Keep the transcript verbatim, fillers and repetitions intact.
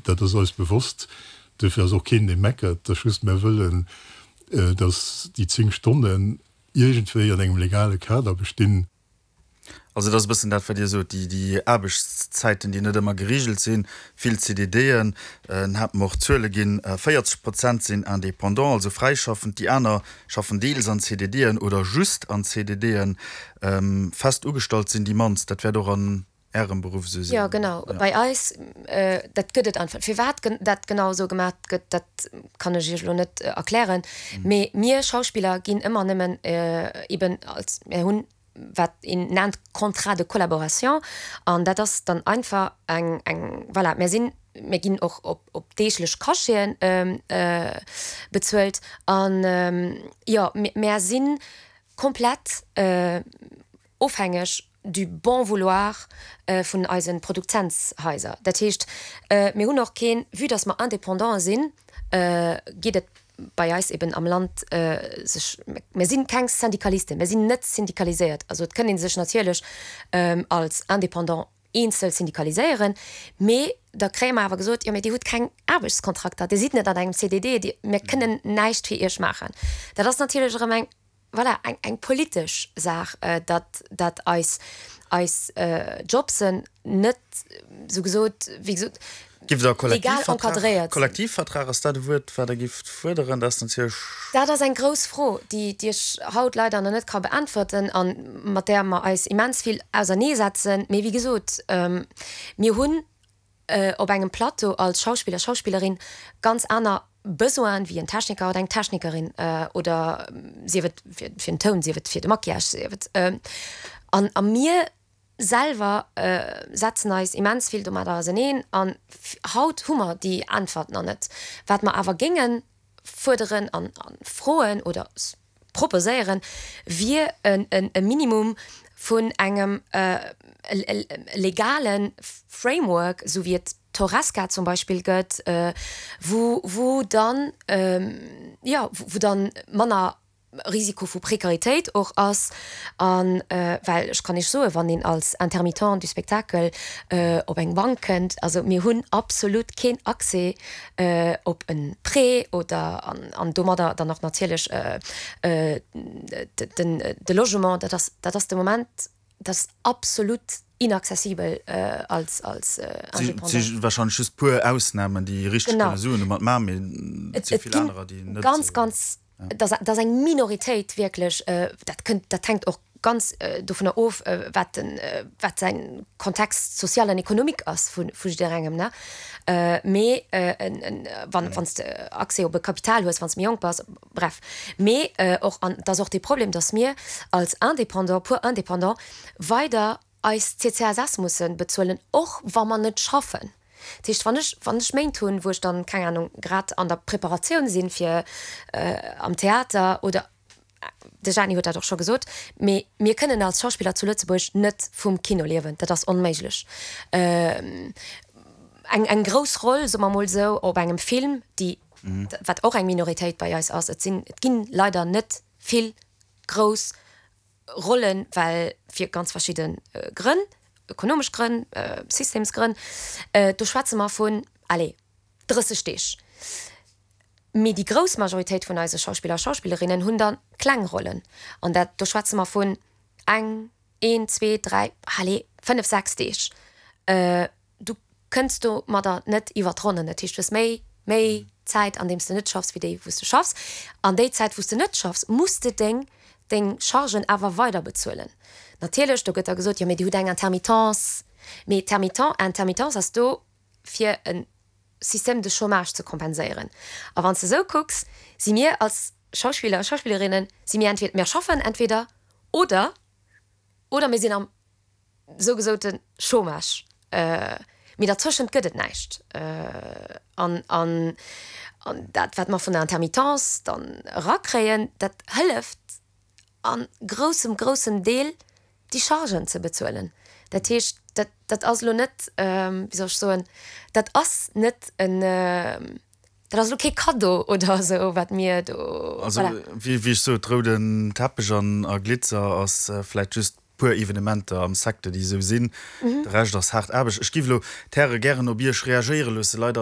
Dat ass eis bewosst. Dofir ass och keen, dee meckert. Dat just mir wëllen, dass déi zéng Stonnen iergendwéi an engem legale Kader bestinn. Also dat ass e bëssen dat, wat Dir sot, déi, déi Aarbechtszäiten, déi net ëmmer gereegelt sinn, vill C D D'en, en hat mer och Zuele ginn, véierzeg Prozent sinn Indépendant, also fräischaffend, déi aner schaffen deels an C D D'en oder just an C D D'en. Fest ugestallt sinn déi mannst. Dat wäert och an Ärem Beruff esou sinn. Jo, genau. Bei eis, dat gëtt et einfach. Firwat dat genau esou gemaach gëtt, dat kann ech Iech elo net erklären. Mee mir Schauspiller ginn ëmmer nëmmen eben als, mir hunn wat een nennt Contrat de collaboration an dat ass dann einfach eng, eng, voilà, mir sinn, mir ginn och op, op deeglech Cacheten bezuelt an jo, mir si komplett ofhängeg du bon vouloir vun eise Produzentshaiser. Dat heescht, mir hunn och keen, vue dass mer Indépendante sinn, geet et bei eis eben am Land sech, mir si keng Syndikalisten, mir sinn net syndikaliséiert. Also et kënnt ee sech natierlech als Indépendant eenzel syndikaliséieren, mee da kréie mer awer gesot, jo mee Dir hutt keng Aarbechtskontrakter, Dir sidd net an engem C D D, Dir, mir kënnen näischt fir Iech maachen. Dat ass natierlech erëm eng, voilà, eng, eng politesch Saach, datt, datt eis, eis Jobsen net, sou gesot, wéi gesot, Giff der legal Kollektivvertrag, encadréiert sinn. Kollektivvertrag, ass dat e Wuert, wat Der gifft fuerderen? Dat ass natierlech. Dat ass eng grouss Fro, déi, déi ech haut leider nach net ka beäntwerten a mat där mer eis immens vill auserneesetzen. Mee wéi gesot, mir hunn op engem Plateau als Schauspiller, Schauspillerin ganz aner Besoinen wéi en Techniker oder eng Technikerin oder sief et fir, fir den Toun, sief et fir de Maquillage, sief et. An a mir selwer setzen eis immens vill domadder auseneen an haut hu mer déi Äntwert nach net. Wat mer awer géinge fuerderen an froen oder proposéieren, wier e Minimum vun engem legale Framework, esou wéi et d'Horesca zum Beispill gëtt, wou wou dann, jo, wou dann manner Risiko vu Prekaritéit och ass. An well ech kann Iech soen, wann een als Intermittent du spectacle op eng Bank kënnt, also mir hunn absolut keen Accès op e Prêt oder an domadder dann och natierlech den de Logement, dat ass dat ass de Moment, dat ass absolut inaccessibel als als Indépendant. Et si wahrscheinlech just puer Ausnamen, déi richteg kënne Suen domat maachen, mee et si vill anerer, déi net. Ganz, ganz, dat ass eng Minoritéit wierklech. Dat kënnt, dat hänkt och ganz dovunner of, wat den, wat säin Contexte social an économique ass vu vu jidderengem, ne. Mee wann wann s de Accès op e Kapital hues, wann s de méi jonk bass, bref. Mee och, an et ass och dee Problem, datt mir als Indépendant, puer Indépendant weider eis C C S S musse bezuelen, och wa mer net schaffen. Dat heescht, wann ech, wann ech Méint hunn, wou ech dann, keng Ahnung, grad an der Preparatioun sinn fir am Theater oder, de Jeanny huet dat och scho gesot, mee mir kënnen als Schauspiller zu Lëtzebuerg net vum Kino liewen, dat ass onméiglech. Eng, eng grouss Roll, soe mer mol esou, op engem Film, déi, wat och eng Minoritéit bei eis ass, et sinn, et ginn leider net vill grouss Rollen, well fir ganz verschidde Grënn, ökonomesch Grënn, Systemsgrënn, do schwätze mer vun, allez, drësseg Deeg. Mee déi grouss Majoritéit vun eise Schauspiller a Schauspillerinnen hunn da kleng Rollen. An dat, do schwätze mer vun eng, een, zwee, dräi, allez, fënnef, sechs Deeg. Du kënns domadder net iwwer d'Ronnen. Dat heescht, du hues méi, méi Zäit, an deem s de net schaffs, wéi déi, wou s de schaffs. An déi Zäit, wou s de net schaffs, muss de deng deng Chargen awer weider bezuelen. Natierlech, do gëtt da gesot, jo mee Dir hutt eng Intermittence. Mee d'Termittent, Intermittence ass do fir e Système de chômage ze kompenséieren. A wann s de esou kucks, si mir als Schauspiller a Schauspillerinnen, si mir entweder, mir schaffen entweder oder, oder mir sinn am sougesote Chômage. Mee dertëschent gëtt et näischt. An, an, an dat, wat mer vun der Intermittence dann erakréien, dat hëlleft a groussem, groussem Deel, déi Chargen ze bezuelen. Dat heescht, dat, dat ass elo net, wéi soll ech soen, dat ass net en, dat ass elo kee Kaddo oder esou, wat mir do, Also, voilà. wéi, wéi ech sot, rouden Teppech an a Glitzer ass vläicht just puer Evenementer am Secteur, déi esou sinn. De Rescht ass haart Aarbecht. Ech géif elo d'Häre gären op Iech reagéiere loossen. Leider